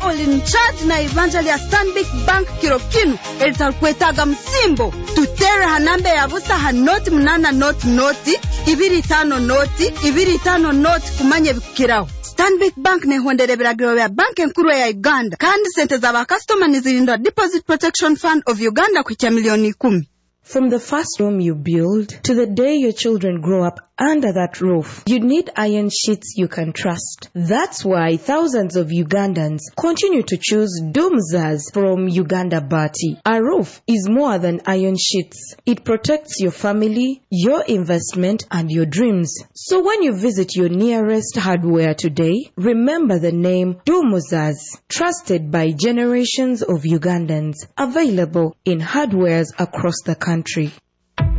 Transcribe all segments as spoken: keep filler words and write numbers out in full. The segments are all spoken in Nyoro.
Oli in charge na ibanja lya Stanbic Bank kiro kinu eritarukwetaaga musimbo. Tutere ha namba ya busa ha noti munana noti noti ibiri tano noti ibiri tano noti kumanya ebikukiraho. Stanbic Bank nehondera ebiragiro bya Banki Enkuru ya Uganda, kandi sente z'abakasitoma nizirindwa Deposit Protection Fund of Uganda kuhikya miliyoni ikumi. From the first room you build to the day your children grow up under that roof, you need iron sheets you can trust. That's why thousands of Ugandans continue to choose Dumuzas from Uganda Baati. A roof is more than iron sheets. It protects your family, your investment, and your dreams. So when you visit your nearest hardware today, remember the name Dumuzas, trusted by generations of Ugandans, available in hardwares across the country.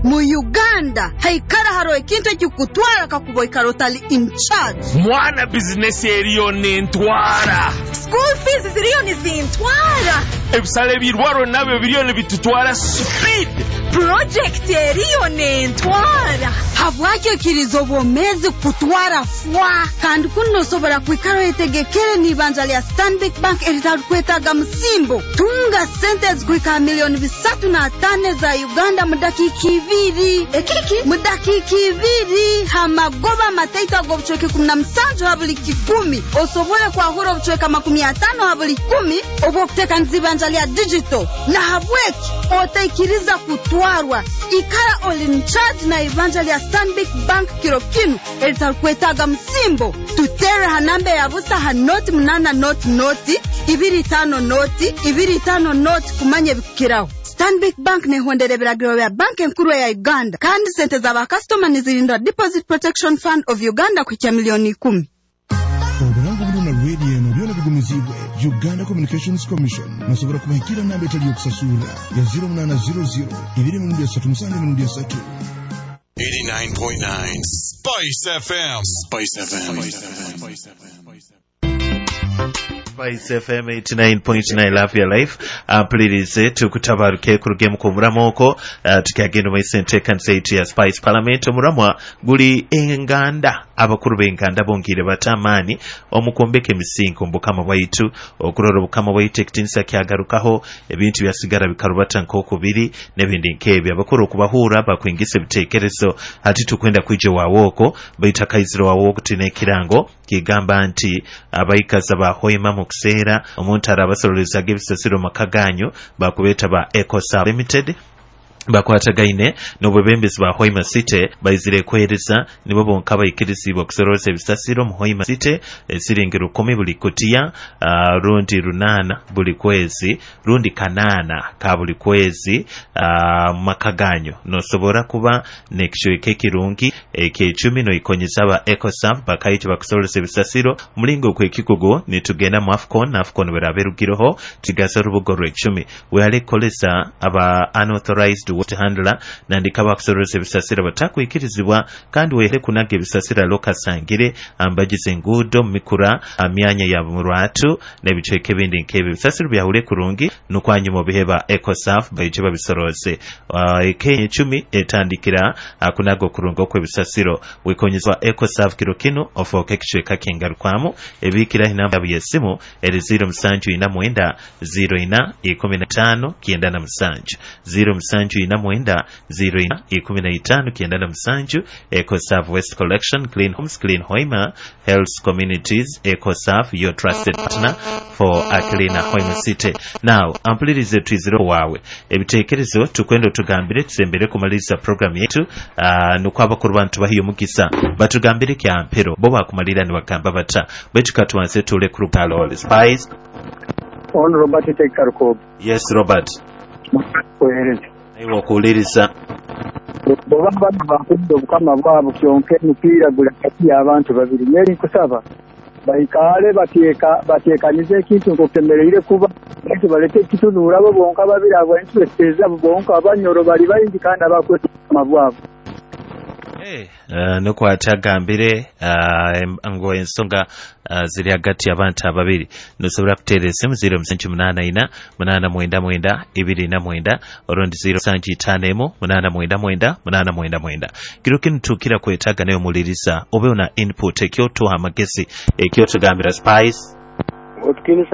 Mu Uganda haikara haro ekintu ekikutwara kakuba oikara otali in charge. Mwana, bizinesi eriyo nentwara. School fees ziriyo nizintwara. Ebisale ebirwaro nabyo biriyo nibitutwara speed. Project eriyo nentwara. Habwaki oikiriza obwomeezi kutwara fwa, kandi kunu nosobora kwikara oyetegekere n'ibanja lya Stanbic Bank eritarukwetaaga musimbo? Tunga sente ezikuhika miliyoni bisatu na tano za Uganda mu dakiika ibiri. Ekiki? Mu dakiika ibiri, hamagoba amataito ag'obucweka ikumi na musanju ha buli kikumi, osobole kwahura obucweka makumi atano ha buli kumi obw'okuteekaniza ibanja lya digital. Nahabweki otaikiriza kutwarwa. Ikara oli in charge na ibanja lya Stanbic Bank kiro kinu eritarukwetaaga musimbo. Tutere ha namba ya busa ha noti munana noti noti ibiri tano noti ibiri tano noti kumanya ebikukiraho. Stanbic Bank nehondera ebiragiro bya Banki Enkuru ya Uganda, kandi sente z'abakasitoma nizirindwa Deposit Protection Fund of Uganda kuhikya miliyoni ikumi. Obulango buno na rediyo eno byona bigumizibwe Uganda Communications Commission. Nosobora kubahikira namba etali yokusasurra ya zero munana zero zero ibiri emirundi esatu musanju emirundi esatu. eighty-nine point nine Spice F M. Spice F M. Spice F M eighty-nine point nine, Love Your Life. Mpulirize, tukutabaruke kuruge mu kumuramu okwo, uh, tukyagenda omaiso enteekanisa yaitu ya Spice Parliament. Omuramwa guli enganda, abakuru b'enganda bongiire bata amaani omu kwombeka emisingi omu bukama bwaitu, okurora obukama bwaitu ekitinisa kyagarukaho, ebintu byasigara bikarubata nk'okubiri n'ebindi nk'ebyo. Abakuru okubahuura bakwingisa ebiteekerezo. Hati tukwenda kwija waawe okwo, baitu akaiziro waawe okwo tulina ekirango kigamba nti abaikaza ba Hoima mu kuseera omuntu arabasorolezaaga ebisasiro mu maka ganyu bakubeeta ba Ecosa Limited, bakwatagaine n'obwebembezi bwa Hoima City, baizire kwereza nibo bonka baikirizibwa okusoroza ebisasiro mu Hoima City. Esiringi rukumi buli kutiya, uh, rundi runana buli kwezi, rundi kanaana ka buli kwezi, uh, mu maka ganyu nosobora kuba nekicweka ekirungi ekyecumi noikonyeza aba Ecosaf bakaija bakusorozesa ebisasiro. Omulingo gw'ekikugu nitugenda mu AFCON. AFCON bweraba erugireho tugaza orubuga orwecumi. Wehale kukolesa aba unauthorized waste handler nandika bakusorozesa ebisasiro batakwikirizibwa, kandi wehere kunaga ebisasiro lokasangire ambagize enguudo mu mikura myanya ya murwatu n'ebicweka ebindi nk'ebyo. Ebisasiro byahule kurungi nukwanyuma obiheba Ecosaf baije babisoroze. uh, ekenya ecumi etandikira uh, kunaga okurunga okw'ebisasiro. Wikonyezwa Ecosaf kiro kinu ofooke ekicweka kingarukwamu. Ebiikiraho inamba yabo y'esimu eri zero musanju ina mwenda zero ina ikumi na itaano kyenda na musanju, zero musanju ina mwenda zero ina ikumi na itaano kyenda na musanju. Ecosaf Waste Collection, clean homes, clean Hoima, health communities. Ecosaf, your trusted partner for a cleaner Hoima City. Now ampulirize, twizire waawe ebiteekerezo, tukwenda otugambire tusembere kumaliriza program yetu, uh, nukwo abakuru bantu bahiyo omugisa batugambire kyampero bo bakumalira nibagamba bata, baitu katubanze tule ku Rupalo Spice. On Robert Tekarukob. Yes, Robert. Kuhereza. Iwe okuwuliriza. Bw'oba bano bakudde obukama bwabwe, kyonka emipiira guli hagati y'abantu babiri. Nyeri nkusaba baikaale bateeka bateekanize ekintu nk'okutemereire kuba, baitu baleke ekitunuura bo bonka babiri abo, interest ezaabo bonka. Abanyoro bali baingi kandi abakwesa obukama bwabwe. Uh, nukwo ati agambire uh, ngo ensonga uh, ziri hagati y'abantu ababiri. Nosobora kuteera esimu zero musanju munaana ina munaana mwenda mwenda ibiri na mwenda, orundi zero musanju itaano emu munaana mwenda mwenda munaana mwenda mwenda. Kiro kinu tukira kwetaaga nayo muliriza obe ona input ekyotuha amagezi, ekyotugambira Spice. Otukinisa.